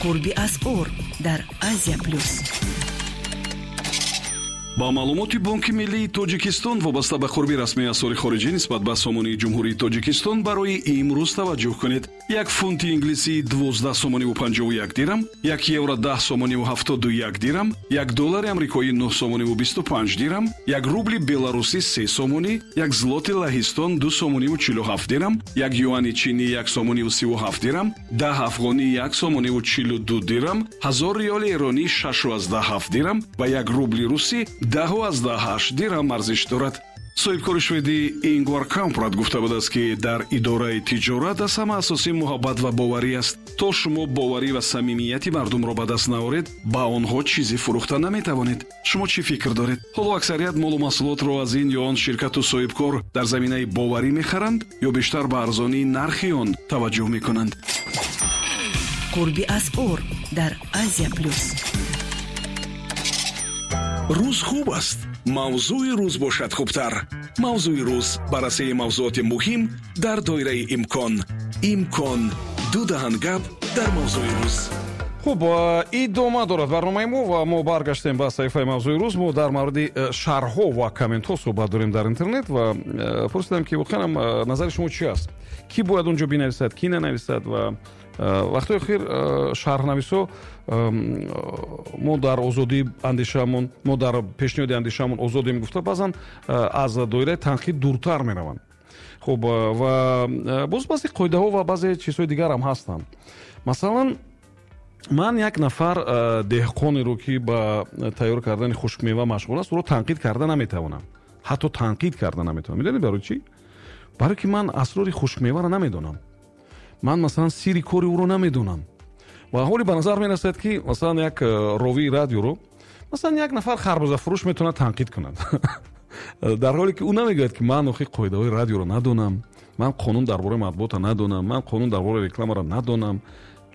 Қурби асъор дар Азия Плюс. Ба маълумоти Бонки миллии Тоҷикистон вобаста ба қурби расмии асъори хориҷӣ нисбат ба сомонии Ҷумҳурии Тоҷикистон барои имрӯз таваҷҷӯҳ кунед. Як фунти инглисӣ 12 сомониву 51 дирам, як евро 10 сомониву 71 дирам, як доллари амрикоӣ 9 сомониву 25 дирам, як рубли беларусӣ 3 сомонӣ, як злоти Лаҳистон 2 сомониву 47 дирам, як юани чинӣ 1 сомониву 37 дирам, 10 афғонӣ 1 сомониву 42 дирам, 1000 риёли эронӣ 6,7 дирам ва як рубли русӣ 10,8 дирам арзиш дорад. Соҳибкори шведӣ Ингвар Кампрад гуфта будааст, ки дар идораи тиҷорат аз ҳама асосӣ муҳаббат ва боварӣ аст. То шумо боварӣ ва самимияти мардумро ба даст наоред, ба онҳо чизе фурӯхта наметавонед. Шумо чӣ фикр доред? Ҳоло аксарият молу маҳсулотро аз ин ё он ширкату соҳибкор дар заминаи боварӣ мехаранд ё бештар ба арзонии нархи он таваҷҷӯҳ мекунанд? Қурби асъор дар Азия Плюс. Рӯз хуб аст, мавзӯи рӯз бошад хубтар. Мавзӯи рӯз: баррасии мавзӯоти муҳим дар доираи имкон. Имкон ду даҳан гап дар мавзӯи рӯз. Хуб, идома дорад барномаи мо ва мо баргаштем ба саҳифаи мавзӯи рӯз. Мо дар мавриди шарҳҳо ва комментҳо суҳбат дорем дар интернет ва пурсидам, ки воқеан назари шумо чӣ аст, кӣ бояд он ҷо бинависад, кӣ нанависад. Ва вақтҳои охир шарҳнависо мо дар озодии андешаамон, мо дар пешниҳоди андешаамон озодем гуфта, баъзан аз доираи танқид дуртар мераванд. Хуб, ва боз баъзе қоидаҳо ва баъзе чизҳои дигар ҳам ҳастанд. Масалан, ман як нафар деҳқонеро, ки ба тайёр кардани хушкмева машғул аст, ӯро танқид карда наметавонам, ҳатто танқид карда наметавонам. Медонед барои чӣ? Барои ки ман асрори хушкмеваро намедонам, ман масалан сири кори ӯро намедонам. Ва ҳоле ба назар мерасад, ки масалан як ровии радиоро масалан як нафар харбузафурӯш метавонад танқид кунад, дар ҳоле ки ӯ намегӯяд, ки ман охи қоидаҳои радиоро надонам, ман қонун дар бораи матбуота надонам, ман қонун дар бораи рекламаро надонам,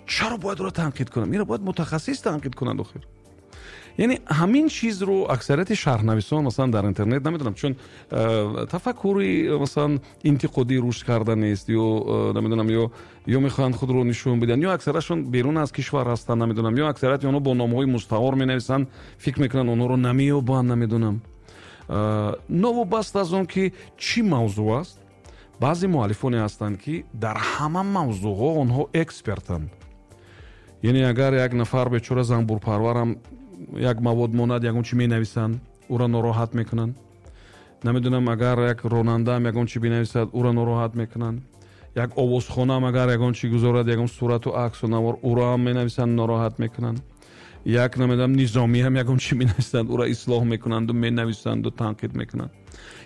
чаро бояд ӯро танқид кунам? Инро бояд мутахассис танқид кунад охир. Яъне ҳамин чизро аксарияти шарҳнависон масалан дар интернет намедонам, чун тафаккури масалан интиқодӣ рушд карда нест ё намедонам, ё мехоҳанд худро нишон бидиҳанд, ё аксарашон берун аз кишвар ҳастанд, намедонам, ё аксарияти онҳо бо номҳои мустаор менависанд, фикр мекунанд онҳоро намеёбанд, намедонам. Новобаста аз он ки чӣ мавзӯъ аст, баъзе муаллифоне ҳастанд, ки дар ҳама мавзӯъҳо онҳо экспертанд. Яъне агар як нафар бечора занбурпарварам як мавод монад, ягон чӣ менависанд, ӯро нороҳат мекунанд. Намедонам, агар як ронандаам ягон чӣ бинависад, ӯро нороҳат мекунанд. Як овозхонаам агар ягон чӣ гузорад, ягон сурату аксу навор, ӯро ҳам менависанд, нороҳат мекунанд. Як намедонам низомиам ягон чӣ менависанд, ӯро ислоҳ мекунанду менависанду танқид мекунанд.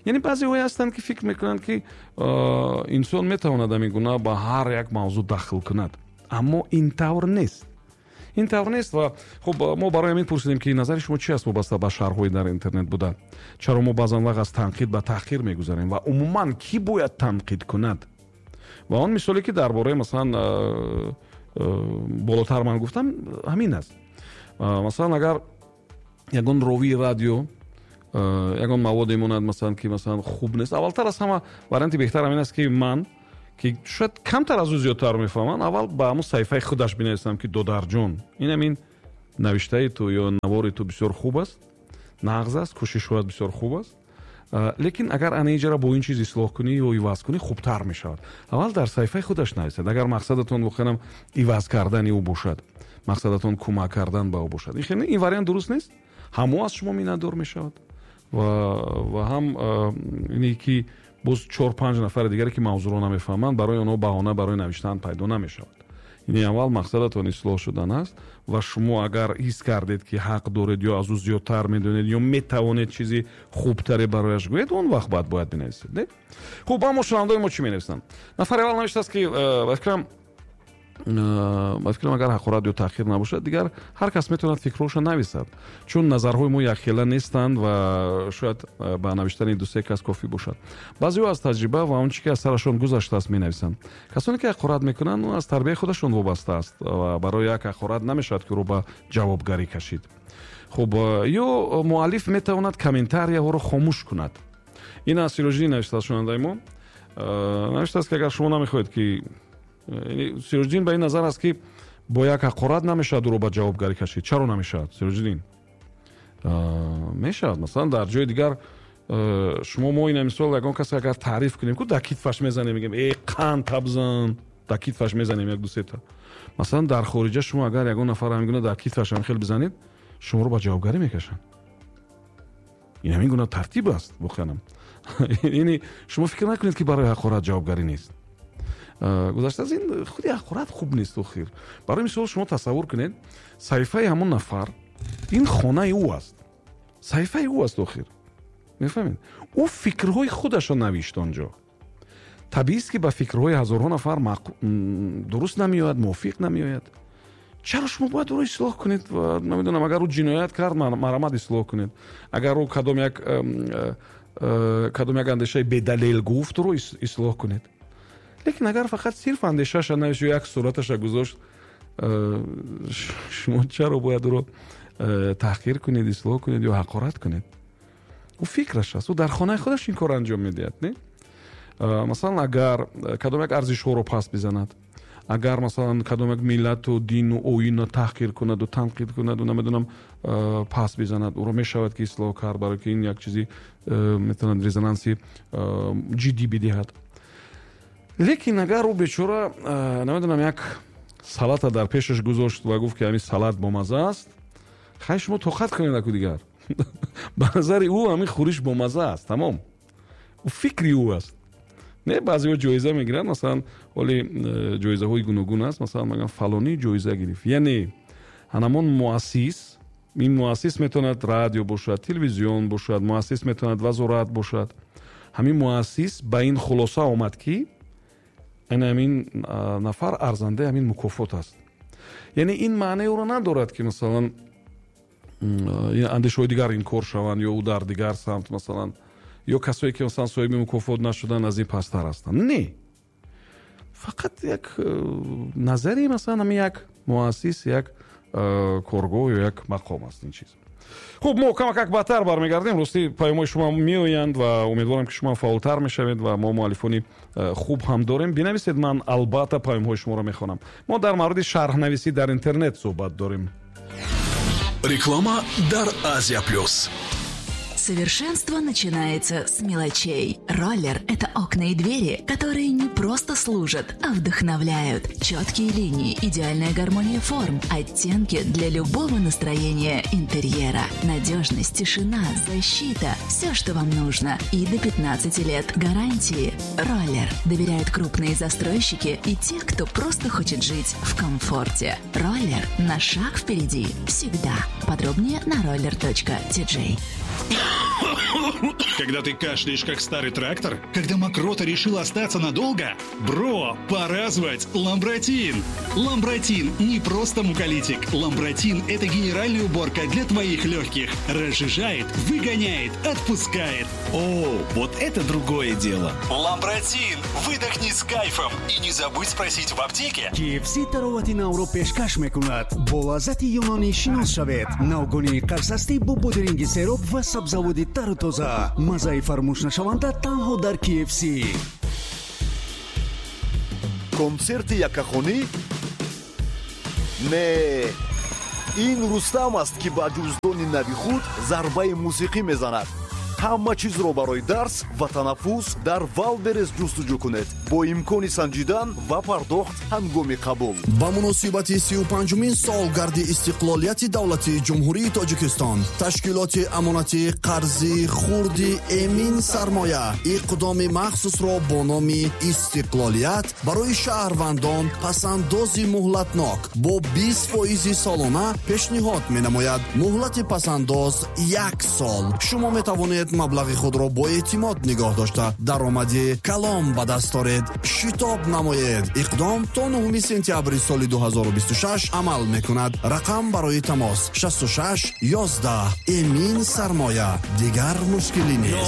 Яъне баъзеҳое ҳастанд, ки фикр мекунанд, ки инсон метавонад ҳамин гуна ба ҳар як мавзӯъ дахл кунад, аммо ин тавр нест, ин тавр нест. Ва хуб, мо барои ҳамин пурсидем, ки назари шумо чи аст вобаста ба шарҳҳои дар интернет буда, чаро мо баъзан вақт аз танқид ба таҳқир мегузарем ва умуман кӣ бояд танқид кунад. Ва он мисоле, ки дар бораи масалан болотар ман гуфтам, ҳамин аст. Масалан, агар ягон ровии радио ягон маводе монад, масалан, ки масалан хуб нест, аввалтар аз ҳама варианти беҳтар ҳамин аст, ки ман, ки шояд камтар аз ӯ зиёдтар мефаҳмам, аввал ба ҳамон саҳифаи худаш бинависам, ки додарҷон, ин ҳамин навиштаи ту ё навори ту бисёр хуб аст, нағз аст, кӯшишҳоят бисёр хуб аст, лекин агар ана инҷаро бо ин чиз ислоҳ кунӣ ё иваз кунӣ, хубтар мешавад. Аввал дар саҳифаи худаш нависад, агар мақсадатон воқеан иваз кардани ӯ бошад, мақсадатон кӯмак кардан ба ӯ бошад. Ин вариант дуруст нест, ҳам ӯ аз шумо миннатдор мешавад ва ҳам ине ки боз 4-5 нафари дигаре, ки мавзӯъро намефаҳманд, барои онҳо баҳона барои навиштан пайдо намешавад. Яъне аввал мақсадатон ислоҳ шудан аст ва шумо агар ҳис кардед, ки ҳақ доред ё аз ӯ зиёдтар медонед ё метавонед чизи хубтаре барояш гӯед, он вақт баъд бояд бинависед, не? Хуб, аммо шунавандаои мо чӣ менависанд? Нафари аввал навиштааст, ки ба фикрам, агар ҳақорат ё таъхир набошад, дигар ҳар кас метавонад фикрҳояшро нависад, чун назарҳои мо якхела нестанд ва шояд ба навиштани ду-се кас кофӣ бошад. Баъзеҳо аз таҷриба ва он чӣ ки аз сарашон гузаштааст менависанд. Касоне ки ҳақорат мекунанд, он аз тарбияи худашон вобаста аст ва барои як ҳақорат намешавад, ки ӯро ба ҷавобгарӣ кашид. Хуб, ё муаллиф метавонад комментарияҳоро хомӯш кунад. Ин аз Сироҷиддин навиштааст шунавандаи мо. Навиштааст, ки агар шумо намехоҳед, ки Сироҷиддин ба ин назар аст, ки Бо як ҳақорат намешавад ӯро ба ҷавобгарӣ кашид. Чаро намешавад, Сироҷиддин? Мешавад. Масалан, дар ҷои дигар шумо, мо ина мисол ягон касе агар таъриф кунем, ку дар китфаш мезанем, мегӯем: «Э, қанд табзан», дар китфаш мезанем як дусета. Масалан, дар хориҷа шумо агар ягон нафар ҳамин гуна дар китфаш ҳамин хел бизанед, шуморо ба ҷавобгарӣ мекашанд. Ин ҳамин гуна тартиб аст воқеанам. Яъне шумо фикр накунед, ки барои ҳақорат ҷавобгарӣ нест. Гузашта аз ин, худи ҳақорат хуб нест охир. Барои мисол, шумо тасаввур кунед, саҳифаи ҳамон нафар, ин хонаи ӯ аст, саҳифаи ӯ аст охир, мефаҳмед? Ӯ фикрҳои худашро навишт он ҷо. Табиист, ки ба фикрҳои ҳазорҳо нафар дуруст намеояд, мувофиқ намеояд. Чаро шумо бояд ӯро ислоҳ кунед? Ва намедонам, агар ӯ ҷиноят кард, марҳамат, ислоҳ кунед. Агар ӯ кадом як андешаи бедалел гуфт, ӯро ислоҳ кунед. Лекин агар фақат сирф андешаша навишт ё як сураташа гузошт, шумо чаро бояд ӯро таҳқир кунед, ислоҳ кунед ё ҳақорат кунед? Ӯ фикраш аст, ӯ дар хонаи худаш ин корро анҷом медиҳад, не? Масалан, агар кадом як арзишҳоро паст бизанад, агар, масалан, кадом як миллату дину оинро таҳқир кунаду танқид кунаду, намедонам, паст бизанад, ӯро мешавад ки ислоҳ кард, барое ки ин як чизи метавонад резонанси ҷиддӣ бидиҳад. Лекин агар ӯ бечора, намедонам, як салата дар пешаш гузошт ва гуфт, ки ҳамин салат бомаза аст, хай, шумо тоқат кунед аку. Дигар ба назари ӯ ҳамин хӯриш бомаза аст, тамом. Ӯ фикри ӯ аст, не? Баъзеҳо ҷоиза мегиранд, масалан, ҳоли ҷоизаҳои гуногун аст. Масалан, мегӯянд, фалонӣ ҷоиза гирифт, яъне ҳанамон муассис. Ин муассис метавонад радио бошад, телевизион бошад, муассис метавонад вазорат бошад. Ҳамин муассис ба ин хулоса омад, ки ана ҳамин нафар арзандаи ҳамин мукофот аст. Яъне ин маънаи ӯро надорад, ки, масалан, андешаҳои дигар инкор шаванд ё ӯ дар дигар самт, масалан, ё касое ки, масалан, соҳиби мукофот нашуданд, аз ин пасттар ҳастанд. Не, фақат як назари, масалан, ҳамин як муассис, як коргоҳ ё як мақом аст ин чиз. Хуб, мо камакак баъдтар бармегардем. Ростӣ, паёмҳои шумо меоянд ва умедворам, ки шумо фаъолтар мешавед ва мо муаллифони хуб ҳам дорем. Бинависед, ман албатта паёмҳои шуморо мехонам. Мо дар мавриди шарҳнависӣ дар интернет суҳбат дорем. Реклама дар Азия Плюс. Совершенство начинается с мелочей. Роллер – это окна и двери, которые не просто служат, а вдохновляют. Четкие линии, идеальная гармония форм, оттенки для любого настроения интерьера. Надежность, тишина, защита – все, что вам нужно. И до 15 лет гарантии. Роллер. Доверяют крупные застройщики и те, кто просто хочет жить в комфорте. Роллер на шаг впереди. Всегда. Подробнее на roller.tj. Когда ты кашляешь, как старый трактор? Когда мокрота решила остаться надолго? Бро, пора звать Ламбратин! Ламбратин не просто муколитик. Ламбратин – это генеральная уборка для твоих легких. Разжижает, выгоняет, отпускает. О, вот это другое дело. Ламбратин! Выдохни с кайфом. И не забудь спросить в аптеке. KFC таровати навро пешкаш мекунад. Бо лаззати юнонӣ шинос шавед. Навгонии карсастӣ бо бодиринги сероб ва сабзаводи тару тоза. Маззаи фаромӯшнашаванда танҳо дар KFC. Консерти яккахонӣ? Не, ин Рустам аст, ки ба ҷуздони нави худ зарбаи мусиқӣ мезанад. Ҳама чизро барои дарс ва танаффус дар Валберес ҷустуҷӯ кунед, бо имкони санҷидан ва пардохт ҳангоми қабул. Ба муносибати 35-умин солгарди истиқлолияти давлатии Ҷумҳурии Тоҷикистон ташкилоти амонатии қарзи хурди Эмин Сармоя иқдоми махсусро бо номи Истиқлолият барои шаҳрвандон пасандози муҳлатнок бо 20 фоизи солона пешниҳод менамояд. Муҳлати пасандоз як сол. Шумо метавонед маблағи худро бо эътимод нигоҳ дошта, даромади калон ба даст оред. Шитоб намоед, иқдом то 9 сентябри соли 2026 амал мекунад. Рақам барои тамос 66 11. Эмин Сармоя, дигар мушкилӣ нест.